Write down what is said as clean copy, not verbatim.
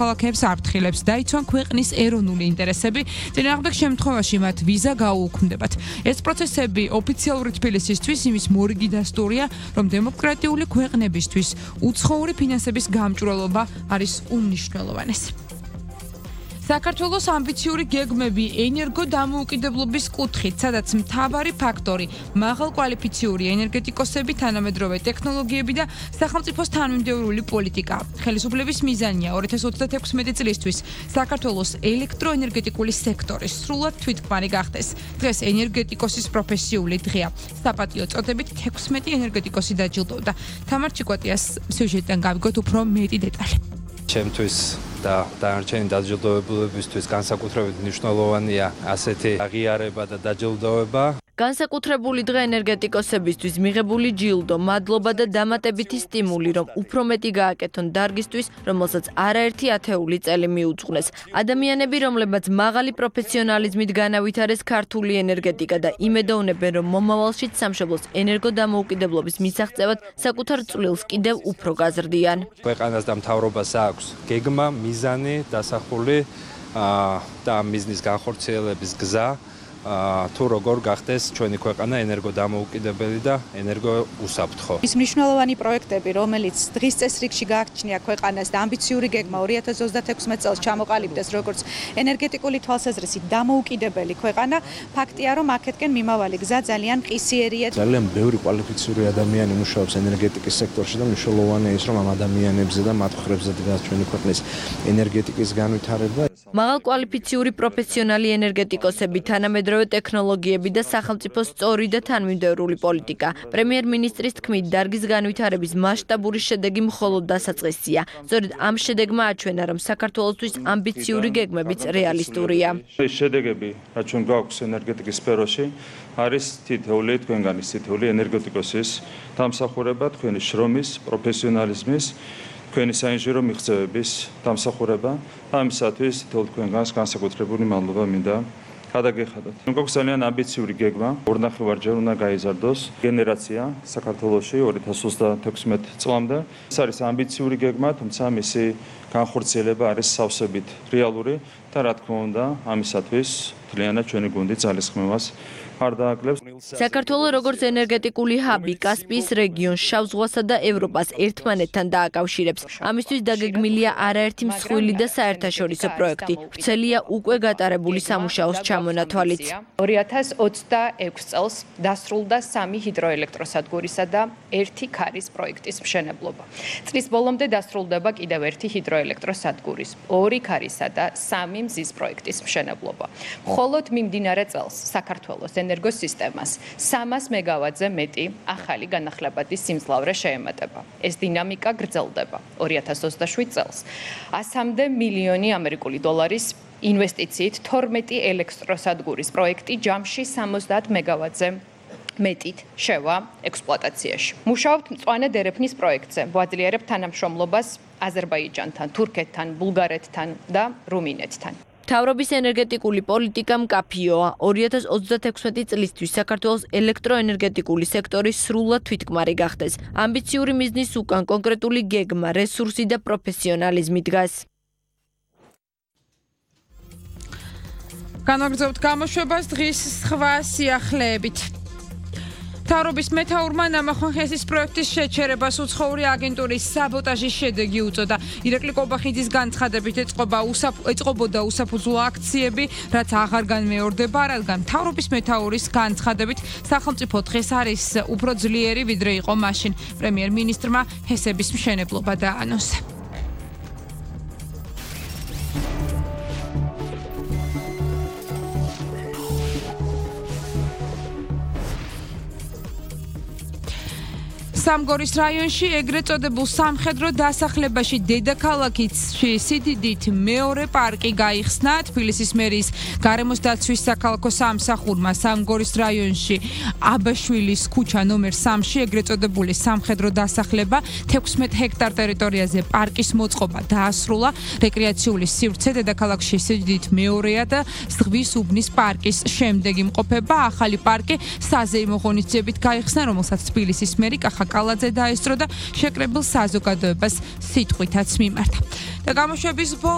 ქალაქებს აფრთხილებს, დაიცვან ქვეყნის ეროვნული ინტერესები, წინააღმდეგ შემთხვევაში მათ ვიზა გაუუქმდებათ. ეს პროცესები ოფიციალური თბილისისთვის იმის მორიგი დასტურია, რომ დემოკრატიული ქვეყნებისთვის უცხოური ფინანსების გამჭვირვალობა არის უმნიშვნელოვანესი. საქართველოს ამბიციური გეგმები ენერგო დამოუკიდებლობის კუთხით, სადაც მთავარი ფაქტორი მაღალკვალიფიციური ენერგეტიკოსები, თანამედროვე ტექნოლოგიები და სახელმწიფოს თანმიმდევრული პოლიტიკა. ხელისუფლების მიზანია 2036 წლისთვის საქართველოს ელექტროენერგეტიკული სექტორი სრულად თვითქმარი გახდეს. დღეს ენერგეტიკოსის პროფესიული დღეა. საპატიო წოდებით 16 ენერგეტიკოსი დაჯილდოვდა. თამარ ჩიკვატიას სიუჟეტიდან გავიგოთ უფრო მეტი დეტალი. ჩემთვის და დანარჩენი დაჯილდოებულებისთვის განსაკუთრებით მნიშვნელოვანია ასეთი აღიარება და დაჯილდოება. განსაკუთრებული დღე ენერგეტიკოსებისთვის მიღებული ჯილდო, მადლობა და დამატებითი სტიმული, რომ უფრო მეტი გააკეთონ დარგისთვის, რომელსაც არაერთი ათეული წელი მიუძღვნეს. ადამიანები, რომლებაც მაღალი პროფესიონალიზმით განავითარეს ქართული ენერგეტიკა და იმედოვნებენ, რომ მომავალშიც სამშობლოს ენერგოდამოუკიდებლობის მისაღწევად საკუთარ წვლილს კიდევ უფრო გაზრდიან. ქვეყანას და მთავრობას აქვს გეგმა, მიზანი, დასახული და მიზნის განხორციელების გზა. თუ როგორ გახდეს ჩვენი ქვეყანა ენერგოდამოუკიდებელი და ენერგოუსაფრთხო. ის მნიშვნელოვანი პროექტები, რომელიც დღის წესრიგში გააჩნია ქვეყანას და ამბიციური გეგმა 2036 წელს ჩამოყალიბდეს როგორც ენერგეტიკული თვალსაზრისით დამოუკიდებელი ქვეყანა, ფაქტია, რომ აქეთკენ მიმავალი გზა ძალიან მყისიერია. ძალიან ბევრი კვალიფიციური ადამიანი მუშაობს ენერგეტიკის სექტორში და მნიშვნელოვანია ის, რომ ამ ადამიანებზე და მათ მხრებზე დგას ჩვენი ქვეყნის ენერგეტიკის განვითარება. მაღალკვალიფიციური პროფესიონალი ენერგეტიკოსები, თანამედროვე ტექნოლოგიები და სახელმწიფოს სწორი და თანმიმდევრული პოლიტიკა. პრემიერ-მინისტრის თქმით, დარგის განვითარების მასშტაბური შედეგი მხოლოდ დასაწყისია. სწორედ ამ შედეგმა აჩვენა, რომ საქართველოსთვის ამბიციური გეგმებიც რეალისტურია. ეს შედეგები, რაც ჩვენ გვაქვს ენერგეტიკის სფეროში, არის თითოეული თქვენგანის თითოეული ენერგეტიკოსის დამსახურება, თქვენი შრომის, პროფესიონალიზმის, თქვენი საინჟინრო მიღწევების დამსახურება. ამისათვის თითოეულ თქვენგანს განსაკუთრებული მადლობა მინდა გადაგეხადოთ. გვაქვს ძალიან ამბიციური გეგმა, 2.5-ჯერ უნდა გაიზარდოს გენერაცია საქართველოში 2036 წლამდე. ეს არის ამბიციური გეგმა, თუმცა მისი განხორციელება არის სავსებით რეალური და რა თქმა უნდა, ამისათვის მთლიანად ჩვენი გუნდი ძალისხმევას არ დააკლებს. საქართველოს როგორც ენერგეტიკული ჰაბი კასპიის რეგიონს, შავ ზღვასა და ევროპას ერთმანეთთან დააკავშირებს. ამისთვის დაგეგმილია არაერთი მსხვილი და საერთაშორისო პროექტი. ვრცელია უკვე გატარებული სამუშაოს ჩამონათვალიც. 2026 წელს დასრულდა 3 ჰიდროელექტროსადგურისა და 1 ქარის პროექტის მშენებლობა. წლის ბოლომდე დასრულდება კიდევ 1 ჰიდროელექტროსადგურის, 2 ქარისა და 3 მზის პროექტის მშენებლობა. მხოლოდ მიმდინარე წელს საქართველოს ენერგოსისტემას 300 მეგავატზე მეტი ახალი განახლებადი სიმძლავრე შეემატება. ეს დინამიკა გრძელდება. 2027 წელს 100 მილიონი ამერიკული დოლარის ინვესტიციით 12 ელექტროსადგურის პროექტი ჯამში 70 მეგავატზე მეტით შევა ექსპლუატაციაში. მუშაობთ მწვანე დერეფნის პროექტზე. ვაძლიერებთ თანამშრომლობას აზერბაიჯანთან, თურქეთთან, ბულგარეთთან და რუმინეთთან. მთავრობის ენერგეტიკული პოლიტიკა მკაფიოა. 2036 წლისთვის საქართველოს ელექტროენერგეტიკული სექტორი სრულად თვითქმარი გახდეს. ამბიციური მიზნის უკან კონკრეტული გეგმა, რესურსი და პროფესიონალიზმი დგას. განაგრძობთ გამოშვებას დღის სხვა სიახლეებით. მთავრობის მეთაურმა ნამახვან ხესის პროექტის შეჩერებას უცხოური აგენტურის საბოტაჟის შედეგი უწოდა. ირაკლი კობახიძის განცხადებით ეწყობოდა უსაფუძვლო აქციები, რაც აღარ განმეორდება, რადგან მთავრობის მეთაურის განცხადებით სახელმწიფო დღეს არის უფრო ძლიერი, ვიდრე იყო მაშინ. პრემიერ-მინისტრმა ჰესების მშენებლობა დაანონსა. სამგორის რაიონში ეგრეთ წოდებულ სამხედრო დასახლებაში დედაქალაქში სიდიდით მეორე პარკი გაიხსნა. თბილისის მერის გარემოს დაცვის საქალაქო სამსახურმა სამგორის რაიონში აბაშვილის ქუჩა ნომერ 3-ში ეგრეთ წოდებული სამხედრო დასახლება 16 ჰექტარ ტერიტორიაზე პარკის მოწყობა დაასრულა. რეკრეაციული სივრცე დედაქალაქში სიდიდით მეორეა და ზღვის უბნის პარკის შემდეგ იმყოფება. ახალი პარკი საზეიმო ღონისძიებით გაიხსნა, რომელსაც თბილისის მერი კახა კალაძე დაესწრო და შეკრებილ საზოგადოებას სიტყვითაც მიმართა. და გამოშვების